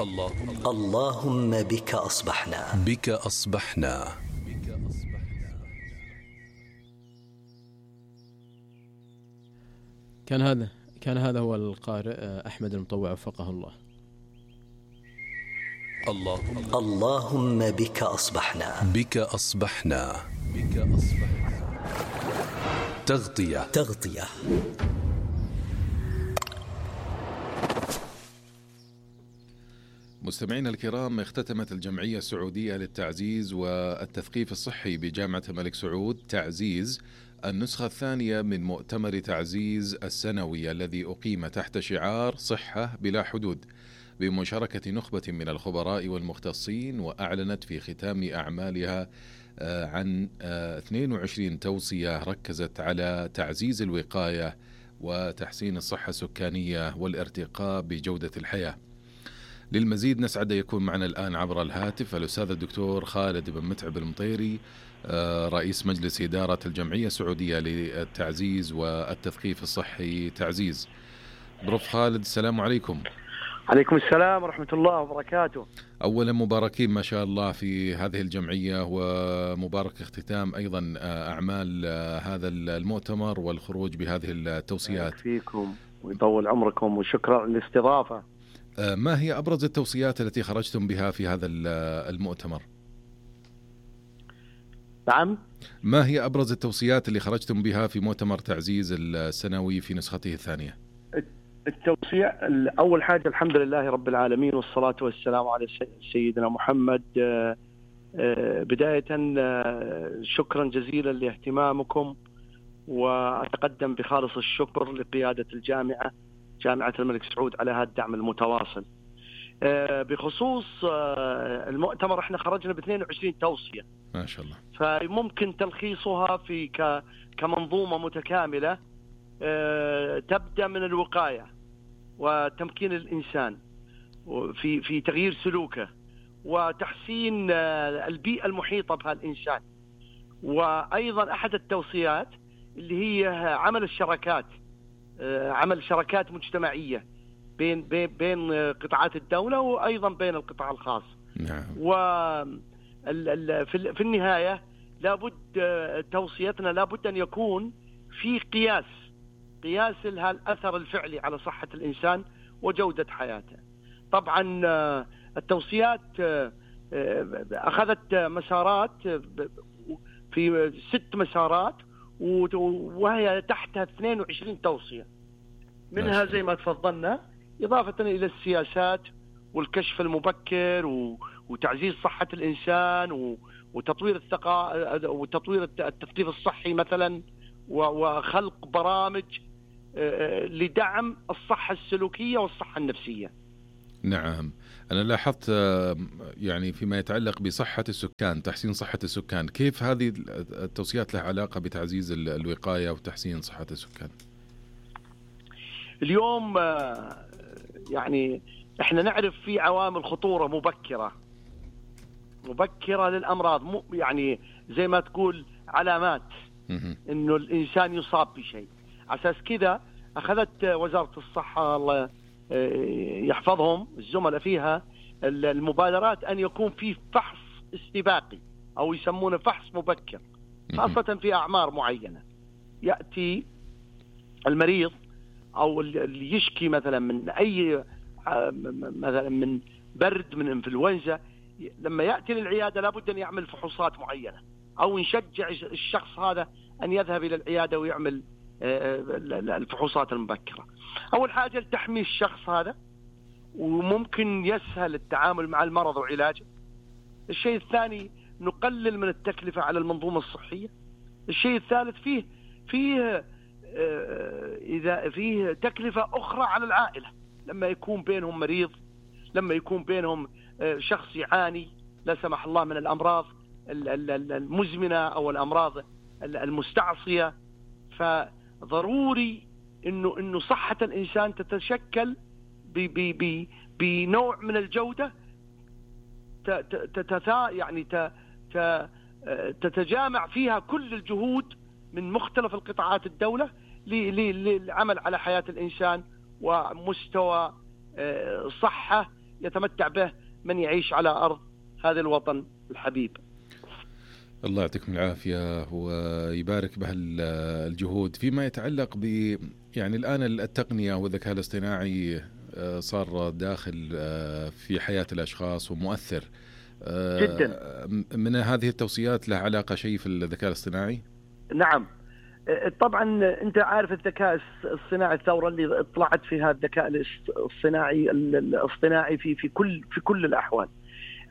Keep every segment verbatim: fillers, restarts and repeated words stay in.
اللهم اللهم بك أصبحنا بك أصبحنا. كان هذا كان هذا هو القارئ أحمد المطوع وفقه الله. اللهم اللهم بك أصبحنا بك أصبحنا بك أصبحنا. تغطية تغطية. مستمعينا الكرام، اختتمت الجمعية السعودية للتعزيز والتثقيف الصحي بجامعة الملك سعود تعزيز النسخة الثانية من مؤتمر تعزيز السنوي الذي أقيم تحت شعار صحة بلا حدود بمشاركة نخبة من الخبراء والمختصين، وأعلنت في ختام أعمالها عن اثنين وعشرين توصية ركزت على تعزيز الوقاية وتحسين الصحة السكانية والارتقاء بجودة الحياة. للمزيد نسعد يكون معنا الآن عبر الهاتف الأستاذ الدكتور خالد بن متعب المطيري، رئيس مجلس إدارة الجمعية السعودية للتعزيز والتثقيف الصحي تعزيز. بروف خالد، السلام عليكم. عليكم السلام ورحمة الله وبركاته. أولا مباركين ما شاء الله في هذه الجمعية، ومبارك اختتام أيضا أعمال هذا المؤتمر والخروج بهذه التوصيات. فيكم ويطول عمركم وشكرا على الاستضافة. ما هي أبرز التوصيات التي خرجتم بها في هذا المؤتمر؟ نعم، ما هي أبرز التوصيات اللي خرجتم بها في مؤتمر تعزيز السنوي في نسخته الثانية؟ التوصية أول حاجة الحمد لله رب العالمين والصلاة والسلام على سيدنا محمد. بداية شكرا جزيلا لاهتمامكم، وأتقدم بخالص الشكر لقيادة الجامعة جامعة الملك سعود على هذا الدعم المتواصل. بخصوص المؤتمر احنا خرجنا ب اثنين وعشرين توصية ما شاء الله، فممكن تلخيصها في كمنظومة متكاملة تبدأ من الوقاية وتمكين الإنسان في في تغيير سلوكه وتحسين البيئة المحيطة بها الإنسان، وأيضا أحد التوصيات اللي هي عمل الشراكات عمل شراكات مجتمعية بين بين بين قطاعات الدولة وأيضا بين القطاع الخاص. نعم. وفي النهاية لابد توصيتنا لابد أن يكون في قياس قياس لها الأثر الفعلي على صحة الإنسان وجودة حياته. طبعا التوصيات أخذت مسارات في ست مسارات، وهي تحتها اثنين وعشرين توصية، منها زي ما تفضلنا إضافة إلى السياسات والكشف المبكر وتعزيز صحة الإنسان وتطوير الثقافة وتطوير التثقيف الصحي مثلا، وخلق برامج لدعم الصحة السلوكية والصحة النفسية. نعم، أنا لاحظت يعني فيما يتعلق بصحة السكان، تحسين صحة السكان، كيف هذه التوصيات لها علاقة بتعزيز الوقاية وتحسين صحة السكان؟ اليوم يعني احنا نعرف في عوامل خطورة مبكرة مبكرة للأمراض، يعني زي ما تقول علامات إنه الإنسان يصاب بشيء. أساس كذا أخذت وزارة الصحة الله يحفظهم الزملاء فيها المبادرات أن يكون في فحص استباقي أو يسمونه فحص مبكر، خاصة في أعمار معينة. يأتي المريض أو اللي يشكي مثلا من أي مثلا من برد، من إنفلونزا، لما يأتي للعيادة لابد أن يعمل فحوصات معينة، أو نشجع الشخص هذا أن يذهب إلى العيادة ويعمل الفحوصات المبكرة. أول حاجة لتحمي الشخص هذا، وممكن يسهل التعامل مع المرض وعلاجه. الشيء الثاني نقلل من التكلفة على المنظومة الصحية. الشيء الثالث فيه فيه إذا فيه تكلفة أخرى على العائلة، لما يكون بينهم مريض، لما يكون بينهم شخص يعاني لا سمح الله من الأمراض المزمنة أو الأمراض المستعصية. فضروري إنه إنه صحة الإنسان تتشكل بنوع من الجودة تتتا يعني تتجامع فيها كل الجهود من مختلف القطاعات الدولة للعمل على حياة الإنسان ومستوى صحة يتمتع به من يعيش على أرض هذا الوطن الحبيب. الله يعطيكم العافية ويبارك بهالجهود. فيما يتعلق ب يعني الآن التقنية والذكاء الاصطناعي صار داخل في حياة الأشخاص ومؤثر جدا. من هذه التوصيات له علاقة شيء في الذكاء الاصطناعي؟ نعم طبعا، أنت عارف الذكاء الصناعي، الثورة اللي طلعت فيها الذكاء الصناعي الاصطناعي في في كل في كل الأحوال.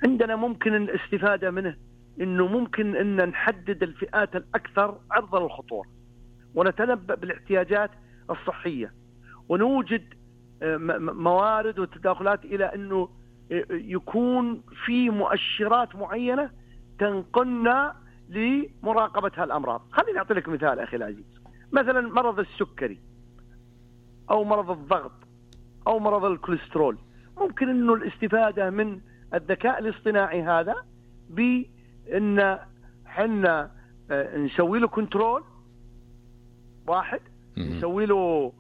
عندنا ممكن الاستفادة منه إنه ممكن إن نحدد الفئات الأكثر عرضة للخطورة ونتنبأ بالاحتياجات الصحية، ونوجد موارد وتداخلات إلى أنه يكون في مؤشرات معينة تنقلنا لمراقبة هالأمراض. خليني أعطي لك مثال أخي العزيز، مثلا مرض السكري أو مرض الضغط أو مرض الكوليسترول، ممكن أنه الاستفادة من الذكاء الاصطناعي هذا بأن حنا نسوي له كنترول واحد، نسوي له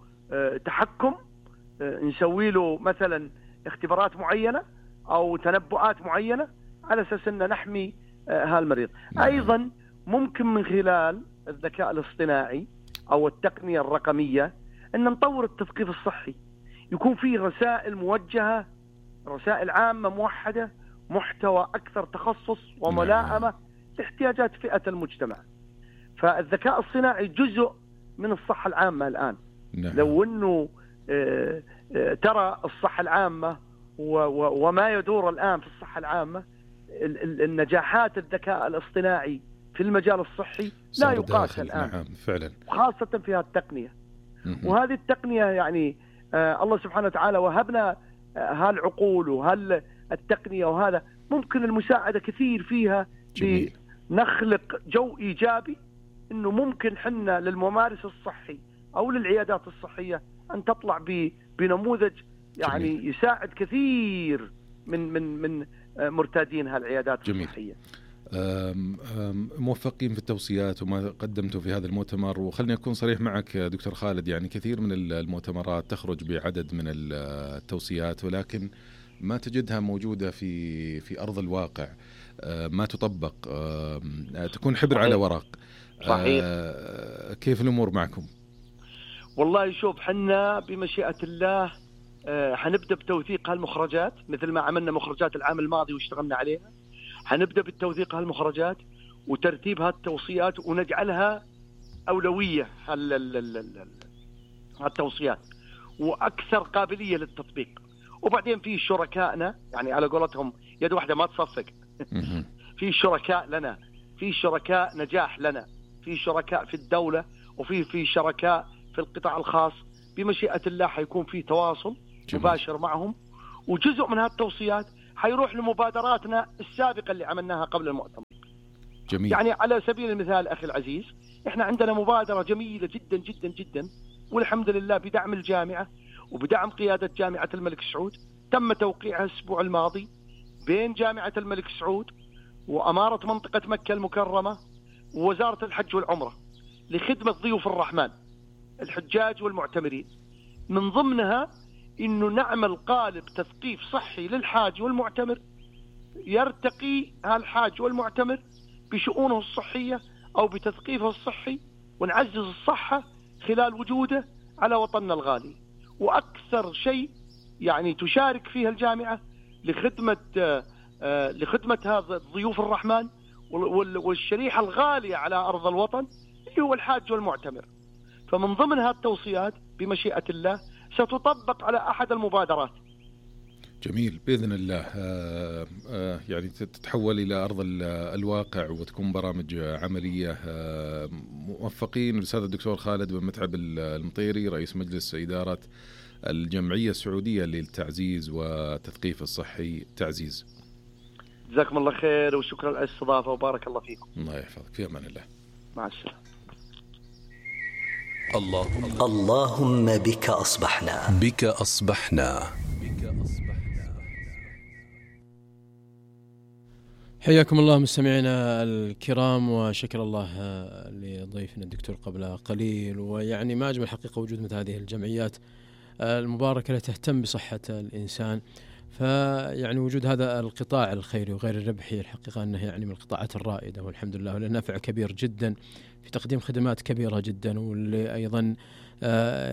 تحكم، نسوي له مثلا اختبارات معينة أو تنبؤات معينة على أساس أن نحمي هالمريض. أيضا ممكن من خلال الذكاء الاصطناعي أو التقنية الرقمية أن نطور التثقيف الصحي، يكون فيه رسائل موجهة، رسائل عامة موحدة، محتوى أكثر تخصص وملائمة لاحتياجات فئة المجتمع. فالذكاء الصناعي جزء من الصحة العامة الآن. نعم. لو أنه ترى الصحة العامة وما يدور الآن في الصحة العامة، النجاحات الذكاء الاصطناعي في المجال الصحي لا يقاس الآن. نعم فعلا، خاصة في هذه التقنية. وهذه التقنية يعني آه الله سبحانه وتعالى وهبنا آه هالعقول وهالتقنية، وهذا ممكن المساعدة كثير فيها. جميل. لنخلق جو إيجابي إنه ممكن حنا للممارس الصحي أو للعيادات الصحية أن تطلع بنموذج يعني جميل. يساعد كثير من من من مرتادين هالعيادات جميل. الصحية. أم أم موفقين في التوصيات وما قدمته في هذا المؤتمر. وخلني أكون صريح معك دكتور خالد، يعني كثير من المؤتمرات تخرج بعدد من التوصيات ولكن ما تجدها موجودة في في أرض الواقع، ما تطبق، تكون حبر صحيح. على ورق. صحيح. كيف الأمور معكم؟ والله شوف، حنا بمشيئة الله حنبدأ بتوثيق هالمخرجات مثل ما عملنا مخرجات العام الماضي واشتغلنا عليها. حنبدأ بالتوثيق هالمخرجات وترتيب هالتوصيات ونجعلها أولوية هالتوصيات وأكثر قابلية للتطبيق. وبعدين في شركائنا، يعني على قولتهم يد واحدة ما تصفق. في شركاء لنا، في شركاء نجاح لنا، في شركاء في الدولة، وفي في شركاء في القطاع الخاص. بمشيئة الله حيكون في تواصل جميل. مباشر معهم، وجزء من هالتوصيات حيروح لمبادراتنا السابقة اللي عملناها قبل المؤتمر. جميل. يعني على سبيل المثال أخي العزيز، إحنا عندنا مبادرة جميلة جدا جدا جدا، والحمد لله بدعم الجامعة وبدعم قيادة جامعة الملك سعود، تم توقيعها الأسبوع الماضي بين جامعة الملك سعود وأمارة منطقة مكة المكرمة ووزارة الحج والعمرة لخدمة ضيوف الرحمن الحجاج والمعتمرين. من ضمنها إنه نعمل قالب تثقيف صحي للحاج والمعتمر، يرتقي هالحاج والمعتمر بشؤونه الصحية أو بتثقيفه الصحي، ونعزز الصحة خلال وجوده على وطننا الغالي. وأكثر شيء يعني تشارك فيها الجامعة لخدمة آه لخدمة هذا ضيوف الرحمن والشريحة الغالية على أرض الوطن اللي هو الحاج والمعتمر. فمن ضمن هذه التوصيات بمشيئة الله ستطبق على أحد المبادرات. جميل بإذن الله. آه آه يعني تتحول إلى أرض الواقع وتكون برامج عملية. آه موفقين. الأستاذ الدكتور خالد بن متعب المطيري رئيس مجلس إدارة الجمعية السعودية للتعزيز والتثقيف الصحي تعزيز. جزاكم الله خير وشكرا على الاستضافة وبارك الله فيكم. الله يحفظك، في أمان الله. مع السلامة. اللهم اللهم بك أصبحنا بك أصبحنا حياكم الله مستمعينا الكرام، وشكر الله لضيفنا الدكتور قبل قليل. ويعني ما أجمل حقيقة وجود مثل هذه الجمعيات المباركة التي تهتم بصحة الإنسان. فيعني وجود هذا القطاع الخيري وغير الربحي الحقيقة أنه يعني من القطاعات الرائدة والحمد لله، وله نفع كبير جدا في تقديم خدمات كبيرة جدا، واللي أيضا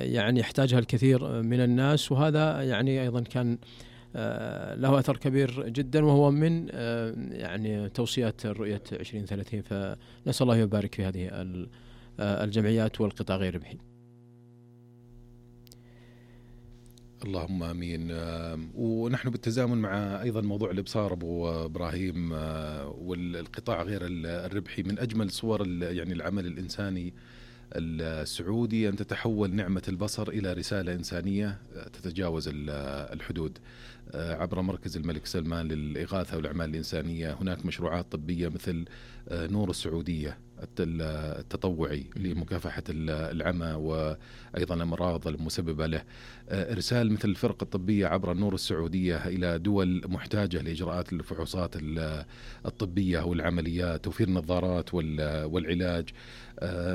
يعني يحتاجها الكثير من الناس، وهذا يعني أيضا كان له أثر كبير جدا، وهو من يعني توصيات رؤية عشرين ثلاثين. فنسأل الله يبارك في هذه الجمعيات والقطاع غير الربحي. اللهم امين. ونحن بالتزامن مع ايضا موضوع الابصار ابو ابراهيم والقطاع غير الربحي، من اجمل صور يعني العمل الانساني السعودي أن تتحول نعمة البصر إلى رسالة إنسانية تتجاوز الحدود عبر مركز الملك سلمان للإغاثة والأعمال الإنسانية. هناك مشروعات طبية مثل نور السعودية التطوعي لمكافحة العمى وأيضا الأمراض المسببة له، إرسال مثل الفرق الطبية عبر النور السعودية إلى دول محتاجة لإجراءات الفحوصات الطبية والعمليات، توفير النظارات والعلاج.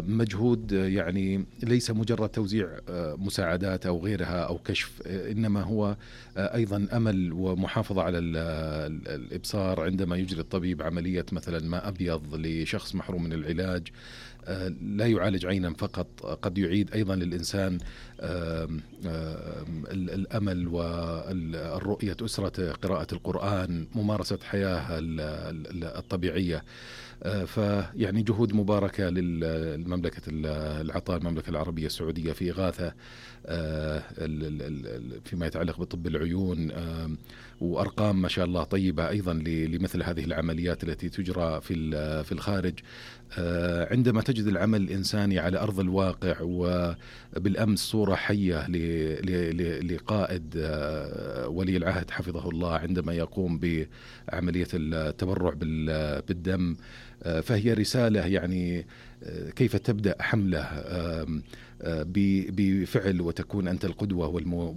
مجهود يعني ليس مجرد توزيع مساعدات أو غيرها أو كشف، إنما هو أيضا أمل ومحافظة على الإبصار عندما يجري الطبيب عملية مثلا ماء أبيض لشخص محروم من العلاج. لا يعالج عينا فقط، قد يعيد أيضا للإنسان الأمل والرؤية، أسرة، قراءة القرآن، ممارسة حياة الطبيعية. فيعني جهود مباركة للمملكة العطاء المملكة العربية السعودية في إغاثة فيما يتعلق بطب العيون، وأرقام ما شاء الله طيبة أيضا لمثل هذه العمليات التي تجرى في في الخارج. عندما تجد العمل الإنساني على أرض الواقع، وبالأمس صورة حية لقائد ولي العهد حفظه الله عندما يقوم بعملية التبرع بالدم، فهي رسالة يعني كيف تبدأ حملة بفعل وتكون أنت القدوة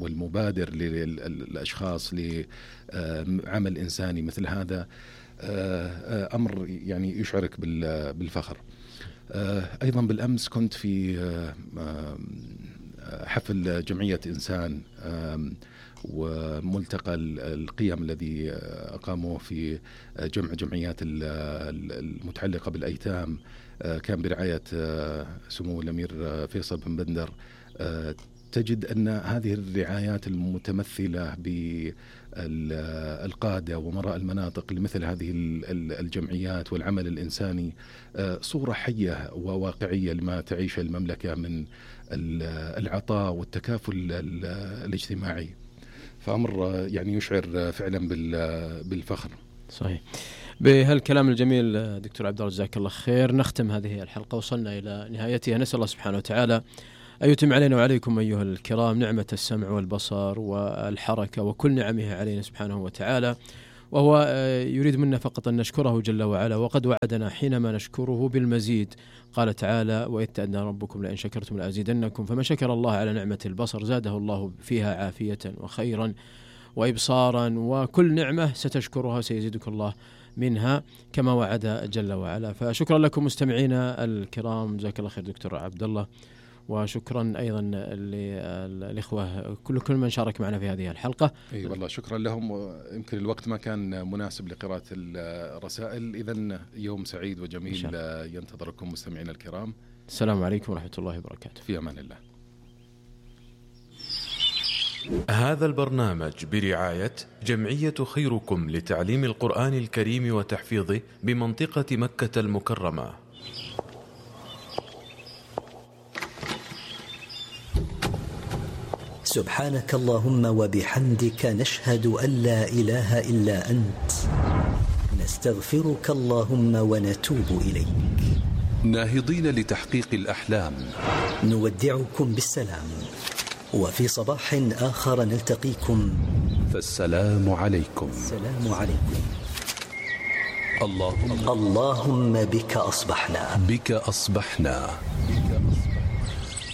والمبادر للأشخاص لعمل إنساني مثل هذا، أمر يعني يشعرك بالفخر. أيضا بالأمس كنت في حفل جمعية إنسان وملتقى القيم الذي أقاموه في جمع جمعيات المتعلقة بالأيتام، كان برعاية سمو الأمير فيصل بن بندر. تجد أن هذه الرعايات المتمثلة بالقادة ومراء المناطق لمثل هذه الجمعيات والعمل الإنساني صورة حية وواقعية لما تعيش المملكة من العطاء والتكافل الاجتماعي، فأمر يعني يشعر فعلا بالفخر. صحيح. بهالكلام الجميل دكتور عبد الله جزاك الله خير نختم هذه الحلقة، وصلنا إلى نهايتها. نسأل الله سبحانه وتعالى أن يتم علينا وعليكم أيها الكرام نعمة السمع والبصر والحركة وكل نعمه علينا سبحانه وتعالى، وهو يريد منا فقط أن نشكره جل وعلا، وقد وعدنا حينما نشكره بالمزيد. قال تعالى: وإذ تأذن ربكم لئن شكرتم لأزيدنكم، فمن شكر الله على نعمة البصر زاده الله فيها عافية وخيرا وإبصارا، وكل نعمة ستشكرها سيزيدك الله منها كما وعد جل وعلا. فشكرا لكم مستمعينا الكرام، جزاك الله خير دكتور عبد الله، وشكرا أيضا للإخوة كل كل من شارك معنا في هذه الحلقة. أي والله شكرا لهم، يمكن الوقت ما كان مناسب لقراءة الرسائل، إذن يوم سعيد وجميل ينتظركم مستمعينا الكرام. السلام عليكم ورحمة الله وبركاته. في أمان الله. هذا البرنامج برعاية جمعية خيركم لتعليم القرآن الكريم وتحفيظه بمنطقة مكة المكرمة. سبحانك اللهم وبحمدك نشهد أن لا إله إلا أنت، نستغفرك اللهم ونتوب إليك. ناهضين لتحقيق الأحلام نودعكم بالسلام، وفي صباح آخر نلتقيكم، فالسلام عليكم. السلام عليكم. اللهم اللهم بك أصبحنا بك أصبحنا